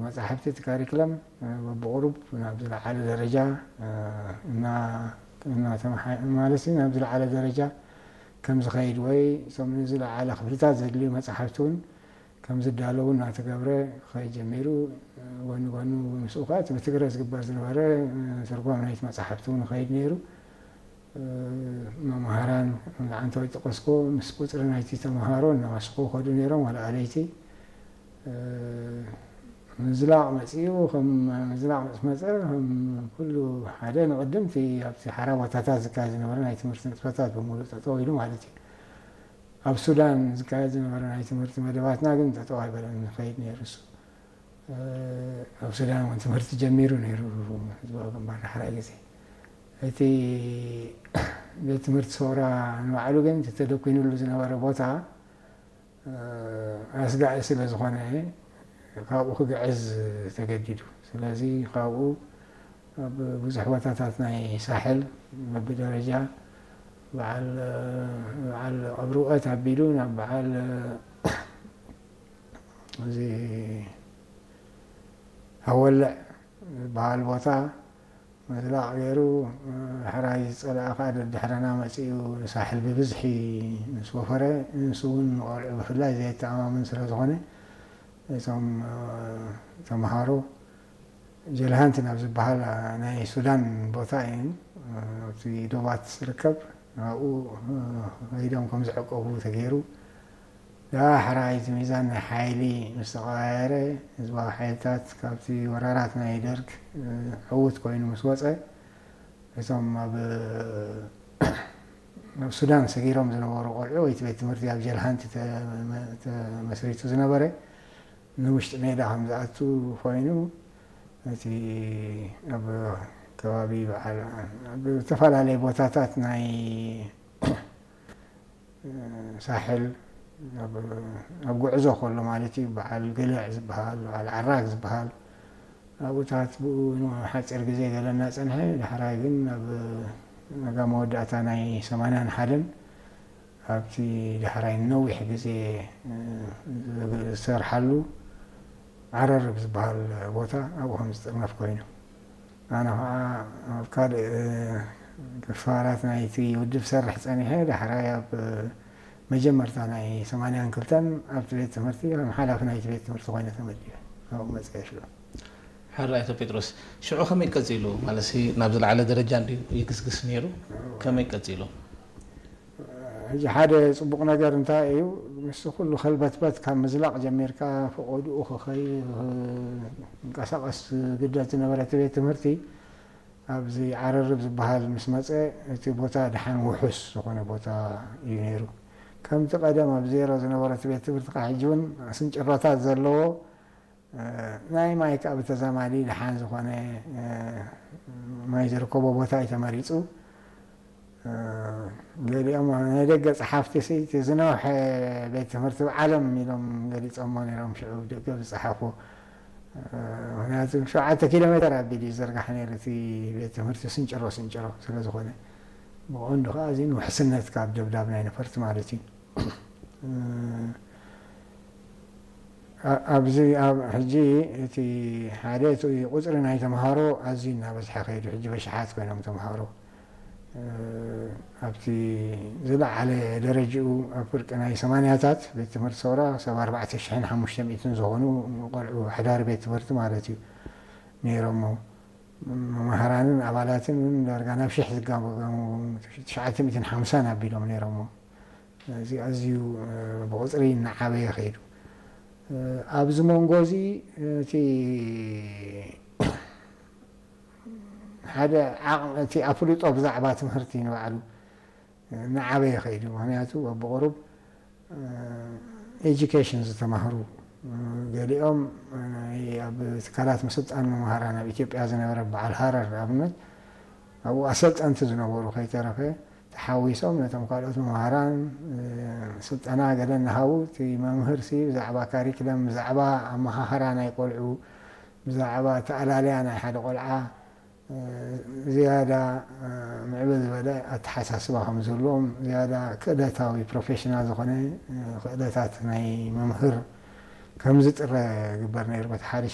መጻሕፍቲ እቲ ካሪክለም ብቕሩብ ናብ ዝለዓለ ደረጃ እና እናተመሓ ማለት ናብ ዝለዓለ ደረጃ ከም ዝኸይድ ወይ እቶም ንዝለዓለ ክፍልታት ዘድልዩ መጻሕፍቲ እውን ከም ዝዳለዉ እናተገብረ ክኸይድ ጀሚሩ። ጎኒ ጎኑ ምስኡ ከዓ እቲ ብትግረ ዝግበር ዝነበረ ትርጓም ናይቲ መጻሕፍቲ እውን ይኸይድ ነይሩ። መምሃራን ዓንተው ይጠቀስኮ ምስ ቁፅሪ ናይቲ ተምሃሮ እናወስኹ ከዱ ነይሮም ዋላ ኣለይቲ ምዝላቕ መፅኡ። ከም ምዝላቕ ምስ መፀ ከም ኩሉ ሓደ ንቕድምቲ ኣብቲ ሓራ ቦታታት ዝካየድ ዝነበረ ናይ ትምህርቲ ንጥፈታት ብምሉእ ጠጠው ኢሉ ማለት እዩ። ኣብ ሱዳን ዝካየድ ዝነበረ ናይ ትምህርቲ መደባትና ግን ጠጠው ኣይበለን ይኸይድ ነይሩ እሱ። ኣብ ሱዳን እውን ትምህርቲ ጀሚሩ ነይሩ ህዝባዊ ግንባር ዳሕራይ ግዜ። እቲ ቤት ትምህርቲ ሰውራ ንባዕሉ ግን እቲ ተደኩኑሉ ዝነበረ ቦታ ኣስጋኢ ስለ ዝኾነ ካብኡ ክግዕዝ ተገዲዱ። ስለዚ ካብኡ ኣብ ብዙሕ ቦታታት ናይ ሳሕል በብደረጃ በዓል በዓል ቀብሪ ውቀት ኣቢሉ ናብ በዓል እዚ ሃወልዕ ዝበሃል ቦታ ምዝላቕ ገይሩ ሕራይ ዝፀለኣ ከዓ ደድሕረና መፂኡ ሳሕል ብብዝሒ ምስ ወፈረ ንሱ እውን ንቆልዑ ብፍላይ ዘየተኣማምን ስለ ዝኾነ እቶም ተምሃሮ ጀልሃንቲ ናብ ዝበሃል ናይ ሱዳን ቦታ እዩ ኣብቲ ዶባት ዝርከብ ኣብኡ ከይዶም ከም ዝዕቀቡ ተገይሩ ዳሕራይ እቲ ሚዛን ናይ ሓይሊ ምስ ተቐያየረ ህዝባዊ ሓይልታት ካብቲ ወራራት ናይ ደርግ ዕዉት ኮይኑ ምስ ወፀ እቶም ኣብ ኣብ ሱዳን ሰጊሮም ዝነበሩ ቆልዑ ወይ እቲ ቤት ትምህርቲ ኣብ ጀልሃንቲ ተመስሪቱ ዝነበረ ንውሽጢ ሜዳ ከም ዝኣቱ ኮይኑ እቲ ኣብ ከባቢ በዓል ኣብ ዝተፈላለየ ቦታታት ናይ ሳሕል ኣብ ጉዕዞ ከሎ ማለት እዩ በዓል ገለዕ ዝበሃል በዓል ዓራግ ዝበሃል ኣብኡታት ብኡ ንሓፂር ግዜ ገለ እናፀንሐ ዳሕራይ ግን ኣብ ናጋ መወዳእታ ናይ ሰማንያን ሓደን ኣብቲ ዳሕራይ ነዊሕ ግዜ ዝሰርሓሉ ዓረርብ ዝበሃል ቦታ ኣብኡ ከም ዝጥርነፍ ኮይኑ ኣነ ከዓ ኣብ ካልእ ክፋላት ናይቲ ውድብ ሰርሕ ፀኒሐ ዳሕራይ ኣብ መጀመርታ ናይ ሰማንያን ክልተን ኣብቲ ቤት ትምህርቲ ከም ሓላፊ ናይቲ ቤት ትምህርቲ ኮይነ ተመዲበ ኣብኡ መፅአ ሽዑ። ሕራይ ኣቶ ጴጥሮስ፣ ሽዑ ከመይ ቀጺሉ? ማለት ናብ ዝለዓለ ደረጃ እንድዩ ይግስግስ ነይሩ። ከመይ ቀጺሉ? ሕጂ ሓደ ፅቡቕ ነገር እንታይ እዩ? ምስ ኩሉ ከልበትበት ካብ ምዝላቕ ጀሚርካ ፈቐድኡ ክኸይ ክንቀሳቐስ ዝግደድ ዝነበረ እቲ ቤት ትምህርቲ ኣብዚ ዓረርብ ዝበሃል ምስ መፀ እቲ ቦታ ደሓን ውሑስ ዝኾነ ቦታ እዩ ነይሩ። ከምቲ ቀደም ኣብ ዜሮ ዝነበረ እቲ ቤት ትምህርቲ ከዓ ሕጂ እውን ስንጭሮታት ዘለዎ ናይ ማይ ከዓ ብተዛማዲ ደሓን ዝኾነ ማይ ዝርከቦ ቦታ እዩ ተመሪፁ። ገሊኦም ናይ ደገ ፀሓፍቲ እቲ ዝነውሐ ቤት ትምህርቲ ዓለም ኢሎም ገሊፆሞ ነይሮም ሽዑ ደገ ዝፀሓፉ ምክንያቱ ሸውዓተ ኪሎ ሜተር ኣቢሉ እዩ ዝዘርጋሕ ነይሩ እቲ ቤት ትምህርቲ ስንጭሮ ስንጭሮ ስለ ዝኾነ ብቐንዱ ከዓ እዚ ንውሕስነት ካብ ደብዳብ ናይ ነፈርቲ ማለት እዩ ኣብዚ ኣብ ሕጂ እቲ ሓደ እቲ ቁፅሪ ናይ ተምሃሮ ኣዝዩ እናበዝሐ ከይዱ ሕጂ በሽሓት ኮይኖም ተምሃሮ ኣብቲ ዝለዓለ ደረጅኡ ኣብ ፍርቂ ናይ ሰማንያታት ቤት ትምህርቲ ሰውራ ክሳብ ኣርባዕተ ሽሕን ሓሙሽተ ሚእትን ዝኾኑ ቆልዑ ሓዳሪ ቤት ትምህርቲ ማለት እዩ ነይሮሞ መምሃራንን ኣባላትን እውን ዳርጋ ናብ ሽሕ ዝጋመገሙ ትሽዓተ ሚእትን ሓምሳን ኣቢሎም ነይሮሞ እዚ ኣዝዩ ብቁፅሪ እናዓበየ ከይዱ ኣብዚ መንጎ እዚ እቲ ሓደ ዓቕሚ እቲ ኣፍልጦ ብዛዕባ ትምህርቲ ንባዕሉ እናዓበየ ከይዱ ምክንያቱ ብቁሩብ ኤጁኬሽን ዝተማህሩ ገሊኦም ኣብ ትካላት ምስልጣን መምሃራን ኣብ ኢትዮጵያ ዝነበረ በዓል ሃረር ንኣብነት ኣብኡ ኣሰልጠንቲ ዝነበሩ ከይተረፈ ተሓዊሶም ነቶም ካልኦት መምሃራን ስልጠና ገለ እናሃቡ እቲ መምህር ሲ ብዛዕባ ካሪክለም ብዛዕባ ኣመሃህራ ናይ ቆልዑ ብዛዕባ ተኣላለያ ናይ ሓደ ቆልዓ ዝያዳ ምዕብል ዝበለ ኣተሓሳስባ ከም ዝህልዎም ዝያዳ ክእለታዊ ፕሮፌሽናል ዝኾነ ክእለታት ናይ መምህር ከም ዝጥረ ግበር ነይሩ በቲ ሓደ